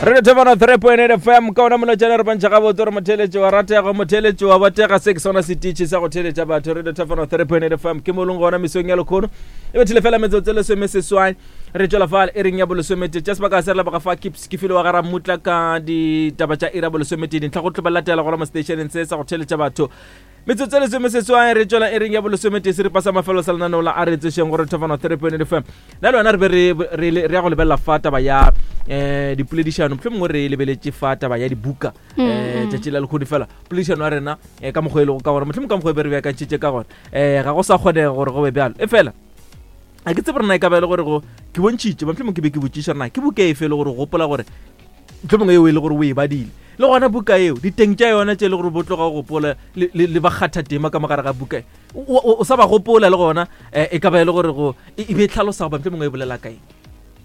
Re thobana 3.8 FM ka ona molotšana re bontšha gabotse gore motheletši wa ratega motheletši wa botega se ke sona setiši sa go theletša batho re thobana 3.8 FM ke molong gona mesong ya lekgono e bethile fela metsotso e lesome seswai re tšwela fale e reng ya bolesomete tša sebaka se re leboga fa kips ke file wa gara mmutla ka ditaba tša ira bolesometee dintlha go tlo ba latela gona mo stationeng se sa go theletša batho metsotso e lesome seswai re tšwela e reng ya bolesomete seripa sa mafelo sa lenaneo la a re tsešeng gore thofano 3.8 fm na le wena re be re ya go lebelela fa taba ya um dipoledišano motlho mongwe re lebeletše fa taba ya dibuka um tšatši la lekgodi fela poledišano ya rena um ka mokgwa e lego ka gona motlho mongwe ka mokgwa e be re beakantšhitše ka gona um ga go sa kgonega gore go be bjalo e fela a ke tsebe rena e ka ba e le gore go ke bontšhitše motlho mongwe ke be ke botšiša rena ke buka efe e le gore gopola gore motlho mongwe eo e le gore o e badile le gona buka eo diteng tša yona tše e le gore bo tloga go gopola le bakgatha tema ka mogare ga buka e o sa ba gopola le gona eh, e ka ba e le gore go e be e tlhalosa goba mongwe e bolela kaeng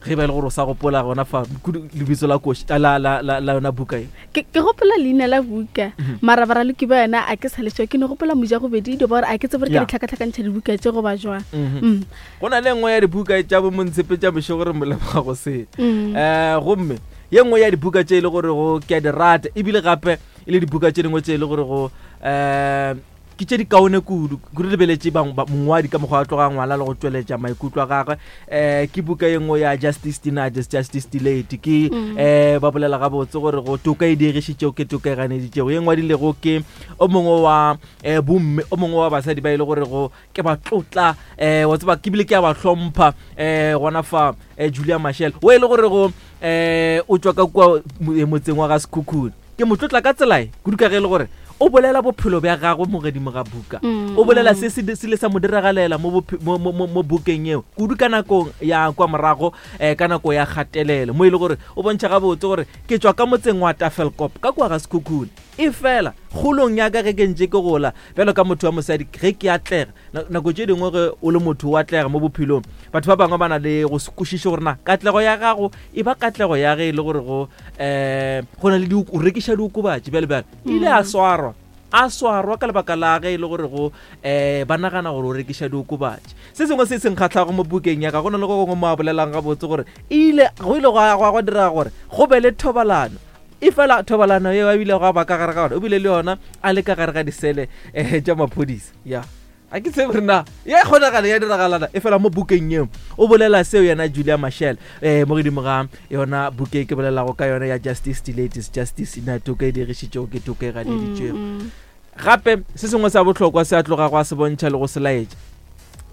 ge ba e le gore o sa gopola gona fa lebitso la koši la la la la yona buka e ke gopola leina la buka mhm. mara baraloki ba yona a ke sa lešwa ke ne gopola moja gobedi dio ba gore a ke tsebe gore ke ditlhakatlhakantšha dibuka tše goba jwang mhm. mm. go na le nngwe ya dibuka tša bo montshepe tša bošego re moleboga go se um gomme ye nngwe ya dibuka tše e le gore go ke a di rata ebile gape e le dibuka tše dingwe tše e le gore go um ke tše di kaone kudu kudu lebeletše mongwadi ka mokgwa wa tloga ngwala le go tšweletša maikutlo a gagwe um ke buka ye nngwe ya justice denied is justice delayed ke um ba bolela gabotse gore go toka e diegišitšego ke toka e ganeditšego ye ngwadilego ke o mongwe wa um bomme o mongwe wa basadi ba e le gore go ke ba tlotla um wa tseba ke bile ke a ba hlompha um gona fa um julia machel o e le gore go um o tšwa ka kua motseng wa ga sekhukhune Ke mo tlotla ka tsela e kudu ka ge e le gore o bolela bophelo bja gagwe mo godimo ga buka. O bolela se se se ile sa mo diragalela mo mo mo mo bukeng eo kudu ka nakong ya kwa morago um ka nako ya kgatelelo mo e le gore o bontšha gabotse gore ke tšwa ka motseng wa Tafelkop ka kua ga Sekhukhune. Efela kgolong ya ka ge ke ntše ke gola bjalo ka motho wa mosadi ge ke atlega Nako tše dingwe ge o le motho o atlega mo bophelong, batho ba bangwe ba na le go se kwešiše gore na katlego ya gago e ba katlego ya ge e le gore go um go na le o rekiša diokobatši bjale bjale. Ile a swarwa a swarwa ka lebaka la ge e le gore go um ba nagana gore o rekiša diokobatši. Se sengwe se se nkgahlago mo bukeng ya ka go na le go gongwe mo a bolelang gabotse gore ile go ile gwa direga gore go be le thobalano efela thobalano yeo a bile go ba ka gare ga gona o bile le yona a le ka gare ga disele um tša maphodisa ya a ke tsebe rena ya kgonagala ya diragalana e fela mo bukeng eo o bolela seo yena julia machel um mo godimo ga yona buke ke bolelago ka yona ya justice delayed is justice na toka e dirišitšego ke toka e ganeditšego mm, mm. gape se sengwe sa bohlokwa se a tloga go a se bontšha le go se laetša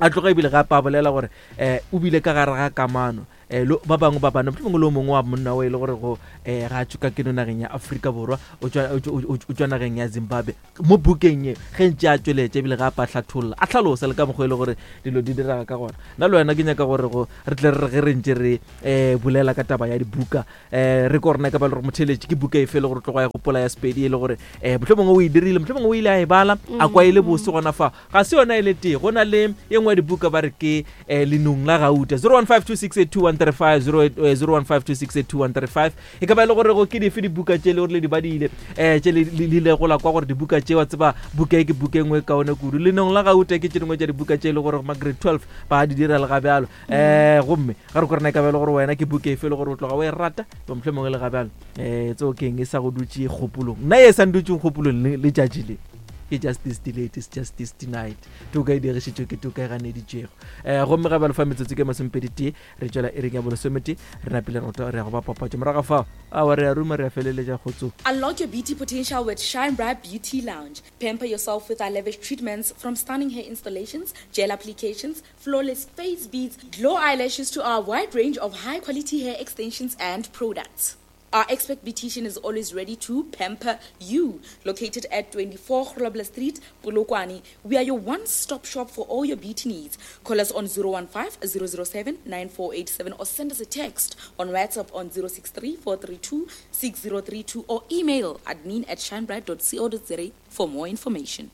a tloga ebile gape a bolela gore um o bile ka gare ga kamano um ba bangwe ba bana mohlomongwe le o mongwe wa monna o e le gore go um ga a tšwe ka keno nageng ya Afrika Borwa o tšwa nageng ya Zimbabwe mo bukeng ye ge ntše a tšweletša ebile ga a pa hlatholla a hlalosa le ka mokgwa e le gore dilo di direga ka gona nna le wena ke nyaka gore go re tle re re ge re ntše re um bolela ka taba ya dibuka um re ko rena ka ba le gore motheletši ke buka efe e le gore tlogo ya gopola ya Sepedi e le gore um mohlomongwe o e dirile mohlomongwe o ile a e bala a kwa e le bose gona fa Ga se yona e le tee, go na le ye nngwe ya dibuka ba re ke eh, Lenong la Gauta. 0152682135, 0152682135. E ka ba e le gore go ke dife dibuka tše le gore le di badile, eh, tše le le ilego la kwa gore dibuka tše wa tseba buka e ke buka e nngwe e kaone kudu. Lenong la Gauta ke tše dingwe tša dibuka tše e le gore ma grade 12 ba di dira le ga bjalo. Eh, gomme ga re ko rena e ka ba e le gore wena ke buka efe e le gore o tloga o e rata, ba mohlomongwe le ga bjalo. Eh, tseo keng e sa go dutše kgopolong. Nna e sa ndutšeng kgopolong letšatši le. Ke justice delayed is justice denied. Toka e dirišitšwe ke toka e ganeditšwego. Eh, gomme ga bjalo fa metsotso ke masomepedi tee re tšwela iring ya bolesomete re napile roto re ya go ba papatšo morago fao awa re a ruma re a feleletša kgotso. Unlock your beauty potential with Shine Bright Beauty Lounge. Pamper yourself with our lavish treatments from stunning hair installations, gel applications, flawless face beads, glow eyelashes to our wide range of high quality hair extensions and products. Our expert beautician is always ready to pamper you. Located at 24 Grobler Street, Polokwane, we are your one-stop shop for all your beauty needs. Call us on 015 007 9487 or send us a text on WhatsApp on 063 432 6032 or email admin at shinebright.co.za for more information.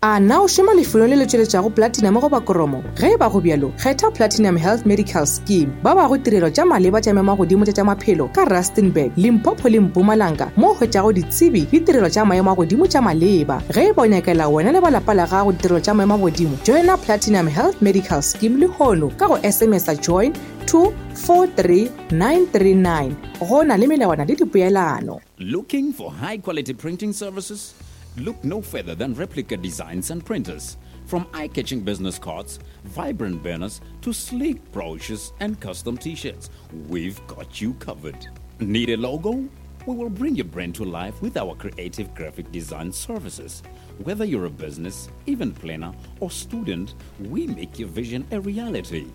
A na o šoma lefelong le le tšweletšago platinum goba kromo? Ge e ba go bjalo, kgetha Platinum Health Medical Scheme. Ba bago tirelo tša maleba tša memagodimo tša tša maphelo ka Rustenburg, Limpopo le Mpumalanga mo o hwetšago ditsebi le tirelo tša maemo a godimo tša maleba. Ge e ba o nyakela wena le ba lapa la gago ditirelo tša maemo a godimo, joina Platinum Health Medical Scheme lehono ka go SMS-a join. 2 43 939. Go na le melawana le dipoelano. Looking for high quality printing services? Look no further than Replica Designs and Printers. From eye catching business cards, vibrant banners, to sleek brochures and custom t shirts, we've got you covered. Need a logo? We will bring your brand to life with our creative graphic design services. Whether you're a business, event planner, or student, we make your vision a reality.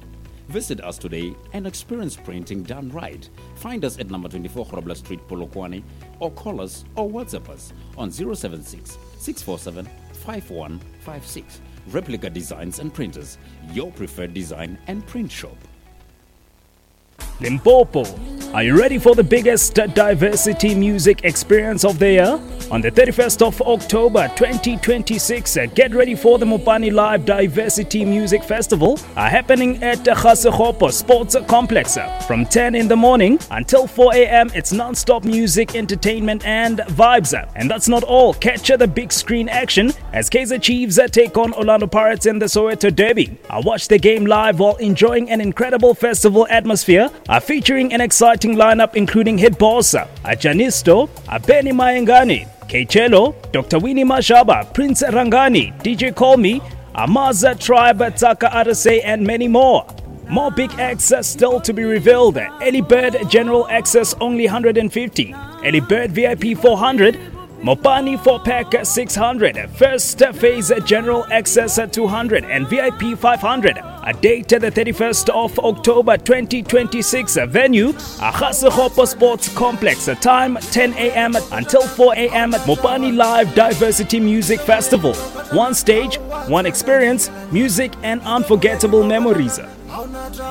Visit us today and experience printing done right. Find us at number 24 Grobler Street, Polokwane, or call us or WhatsApp us on 076 647 5156. Replica Designs and Printers, your preferred design and print shop. Limpopo. Are you ready for the biggest diversity music experience of the year? On the 31st of October 2026, get ready for the Mopani Live Diversity Music Festival happening at Ga-Sekgopo Sports Complex from 10 in the morning until 4 a.m. It's non-stop music, entertainment, and vibes. And that's not all. Catch the big screen action as Kaizer Chiefs take on Orlando Pirates in the Soweto Derby. I watch the game live while enjoying an incredible festival atmosphere, featuring an exciting lineup including Hit Boss, Janisto, Benny Mayengani, Kechelo, Dr. Winnie Mashaba, Prince Rangani, DJ Call Me, Amaza Tribe, Taka Arase, and many more. More big acts still to be revealed. Ellie Bird General Access only 150, Ellie Bird VIP 400, Mopani 4 pack 600, first phase General Access 200 and VIP 500. A date the 31st of October 2026. Venue Ga-Sekgopo Sports Complex. Time 10 a.m. until 4 a.m. Mopani Live Diversity Music Festival. One stage, one experience, music and unforgettable memories.